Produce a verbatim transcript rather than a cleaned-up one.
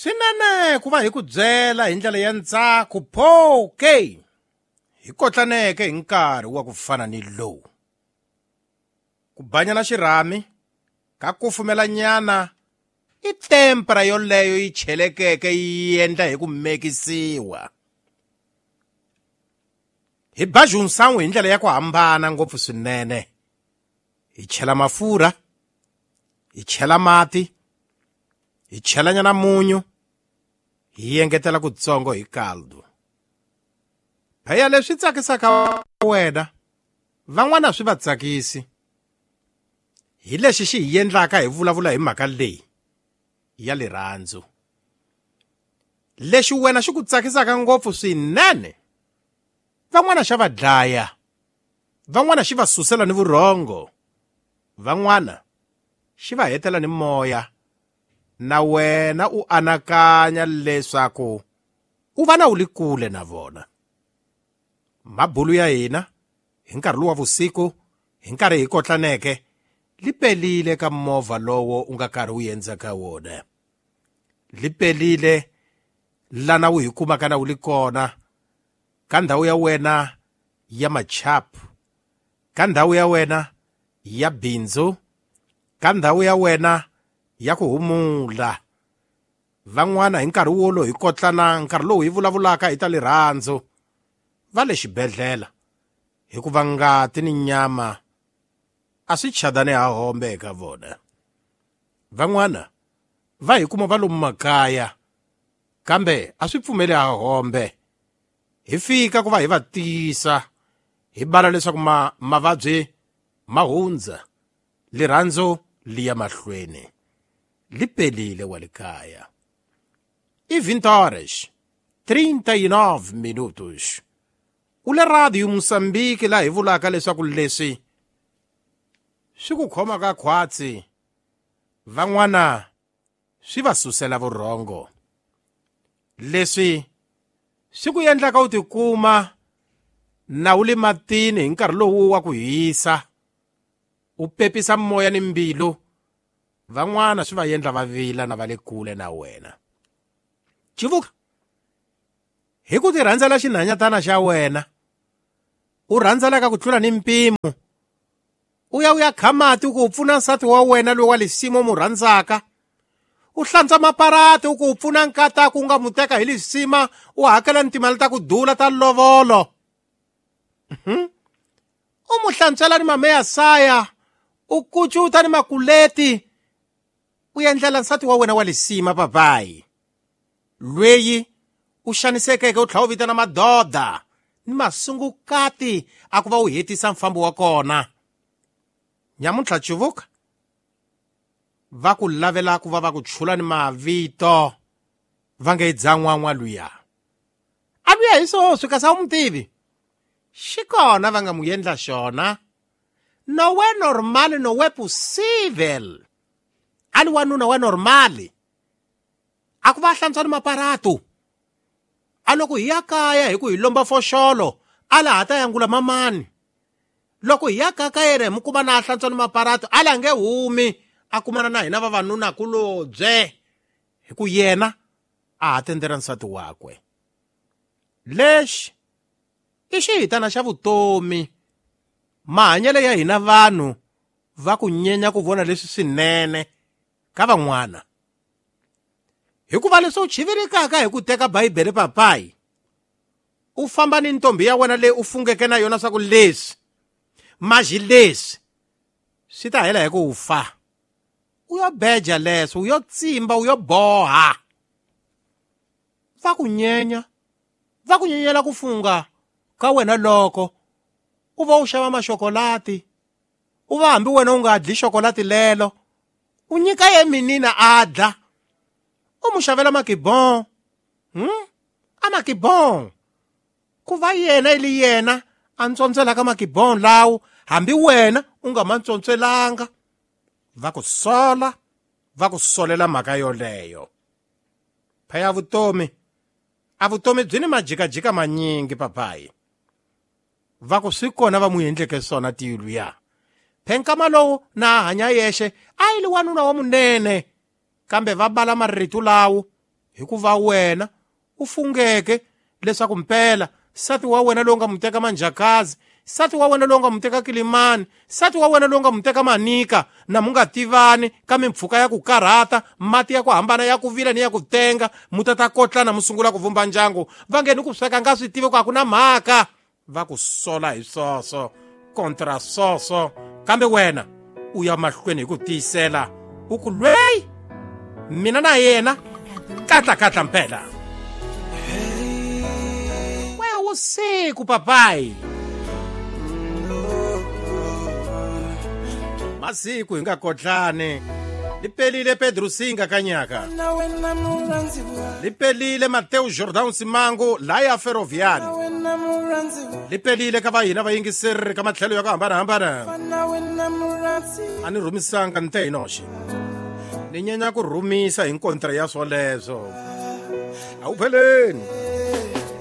Swinene ku va hi ku byela hi ndlela ya ntsako pho ke hi kotlaneke hi nkarhi wa ku fana ni lowu. Ku banyana xirhami ka kufumelanyana i tempera yoleyo yi chelekeke yi endla hi ku mekisiwa. Hi ba junção hi ndlela ya ku hambana ngopfu swinene. Hi chela mafurha, hi chela mati, hi chelanyana munyu, hi engetela kutsongo hi caldo. Phela leswi tsakisaka wena, van'wana swi va tsakisi. Hi lexi xi hi endlaka hi vulavula hi mhaka leyi ya rirhandzu. Lexi wena xi ku tsakisaka ngopfu swinene, van'wana xa va dlaya, van'wana xi va susela ni vurhongo, van'wana xi va hetela ni moya. Na wena u anakanya leswaku u va na u li kule na vona. Mabulu ya hina hi nkarhi lowu wa vusiku, hi nkarhi hi kotlaneke, li pelile ka movha lowo u nga karhi u endza ka wona. Li pelile lana u hi kumaka na u li kona ka ndhawu ya wena ya machapu, ka ndhawu ya wena ya bindzu, ka ndhawu ya wena ya ku humula. Van'wana hi nkarhi wolowo hi kotlana, nkarhi lowu hi vulavulaka hi ta rirhandzu, va le xibedhlele hikuva ngati ni nyama a swi chadani ha hombe eka vona. Van'wana va hi kuma va lomu makaya, kambe a swi pfumeli ha hombe. Hi fika ku va hi va tiyisa, hi bala leswaku ma mavabyi ma hundza, rirhandzu li ya mahlweni. Li pelile wa le kaya. I vinte horas, trinta e nove minutos. U le Radio Moçambique laha hi vulaka leswaku leswi swi ku khoma ka khwatsi, van'wana swi va susela vurhongo. Leswi swi ku endlaka u tikuma na u le matini hi nkarhi lowu wa ku hisa, u pepisa moya ni mbilu, van'wana swi va endla va vila na va le kule na wena. Chivuka hi ku ti rhandzela xinhanyatana xa wena, u rhandzelaka ku tlula ni mpimo, u ya u ya kha mati u ku u pfuna nsati wa wena loyi wa lisimo u mu rhandzaka, u hlantswa maparati u ku u pfuna nkataku u nga mu teka hi lisima, u hakela ni timali ta ku dula ta lovolo. U mu hlantswela ni mameya saya, u kucuta ni makuleti, u endlela nsati wa wena wa lisima papayi lweyi u xanisekeke u tlhela u vitana madoda ni masungukati a ku va u hetisa mfambo wa kona. Nyamuntlha Chivuka va ku lavela ku va va ku chula ni mavito va nge dzan'wan'wa luya. A luya hi swoswi kasi a wu mu tivi. Xi kona va nga mu endla xona. No we normal, no we possible. A li wanuna wa normal. A ku va hlantswa ni maparatu. A loko hi ya kaya hi ku hi lomba foxolo, a la ha ta yangula mamani. Loko hi ya kaya ka yena hi mu kuma na a hlantswa ni maparatu, a la nge humi, a kumana na hina vavanuna kulobye. Hi ku yena a ha tendela nsati wakwe. Lexi i xihitana xa vutomi. Mahanyelo ya hina vanhu va ku nyenya ku vona leswi swinene ka van'wana. Hikuva leswi u chivirikaka hi ku teka Bibele papayi, u famba ni ntombi ya wena leyi u fungeke na yona swa ku leswi, maji leswi, swi ta hela hi ku fa. U yo beja leswo, u yo tsimba, u yo boha. Va ku nyenya, va ku nyenyela ku funga ka wena loko u va u xava maxokolati, u va hambi wena u nga dli xokolati lelo, u nyika ye minina a dla, u mu xavela makibon. Hmm? A makibon. Ku va yena ili yena a ntswontswelaka makibon lawo, hambi wena u nga ma ntswontswelanga. Va ku sola, va ku solela mhaka yoleyo. Phaya vutomi, a vutomi byi ni majikajika manyingi papayi. Va ku swi kona va mu endleke swona tilu ya. Phenkama lowu na hanya yexe a yi li wanuna wa munene, kambe va bala marito lawo Hikuva wena u fungeke leswaku mpela nsati wa wena lowu nga mu teka Manjakazi, nsati wa wena lowu nga mu teka Kilimani, nsati wa wena lowu nga mu teka Manika, na mu nga tivani ka mimpfhuka ya ku karhata, mati ya ku hambana ya ku vila ni ya ku tenga, mu ta ta kotlana mu sungula ku vumba ndyangu. Va nge ni ku sweka nga swi tivi ku a ku na mhaka, va ku sola hi swoswo kontra swoswo, kambe wena u ya mahlweni hi ku tiyisela, u ku lweyi mina na yena katla katla mpela. Usiku papai, masiku hi nga kotlani. Lipelile Pedro Singa kanyaka, lipelile Mateo Jordan Simango laya Ferroviari, lipelile ka va hina vayingiseri ka matlhelo ya ku hambanahambana. A ni rhumisanga nte hi noxe, ni nyenya ku rhumisa hi nkontra ya swoleswo. A wu pheleni.